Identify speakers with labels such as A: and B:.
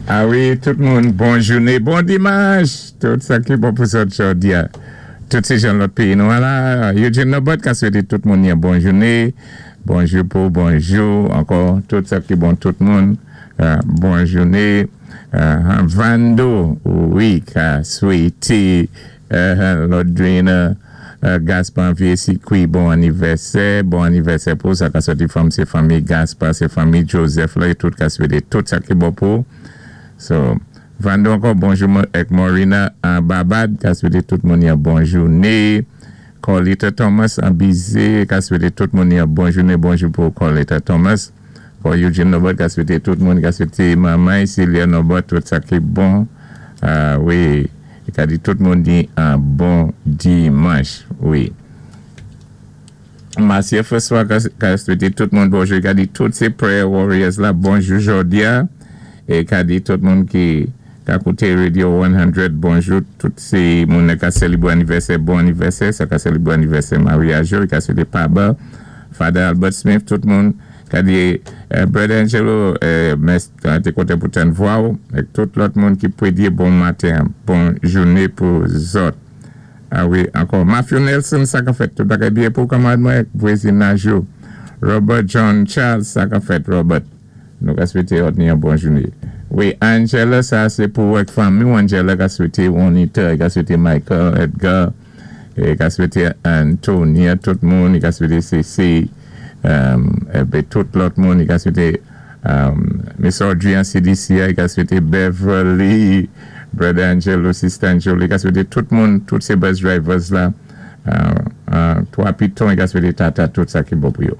A: A wi, tout moun, bon jouné, bon dimanch! Tout sa ki bon pou zòt jòdi a. Tout sé jan lòt péyi nou an la. Eugene Norbert ka swété tout moun yon bon jouné. Bonjou pou bonjou ankò tout sa ki bon tout moun. Bon jouné. Vando, wi, ka swété Lodrina Gaspard Vye Sikwi bon anivèsè. Bon anivèsè pou sa ka sòti fanm sé fanmi Gaspard, sé fanmi Joseph la, yo tout ka swété tout sa ki bon pou. So, Vando ankò bonjou èk Morina an Babad ka swété tout moun yon bon jouné. Corlita Thomas an Bize ka swété tout moun yon bon jouné. Bonjou pou Corlita Thomas. Ankò Eugene Norbert ka swété tout moun, ka swété manman Celia Norbert tout sa ki bon. Wi, ka di tout moun di an bon dimanch. Wi. Marcia François ka swété tout moun bonjou. Ka di tout sé Prayer Warriors la bonjou jòdi a. É ka di tout moun ki ka kouté Radio 100 bonjou. Tout sé moun ka sélébwé anivèsè, bon anivèsè. Sa ka sélébwé anivèsè maryaj yo. Ka swété Paba, Father Albert Smith, tout moun. Ka di Brother Angelo, mès té kontan pou tann vwa ou. Èk tout lòt moun ki pwédyé bon maten, bon jouné pou zòt. A wi, ankò. Matthew Nelson, sa ka fèt. Tout bagay byen pou kanmarad mwen, vwazinaj yo. Robert John Charles, sa ka fèt, Robert. Nou ka swété òt ni yon bon jouné. Wi, Angela, sa sé pou èk fanmi ou Angela ka swété Juanita, ka swété Michael, Edgar, é ka swété Antonia, tout moun, ka swété CC, épi tout lòt moun, ka swété Miss Audrey an CDC, ka swété Beverly, Brother Angelo, Sister Angelo, ka swété tout moun, tout sé bus drivers la, Twa Piton, ka swété Tata, tout sa ki bon pou yo.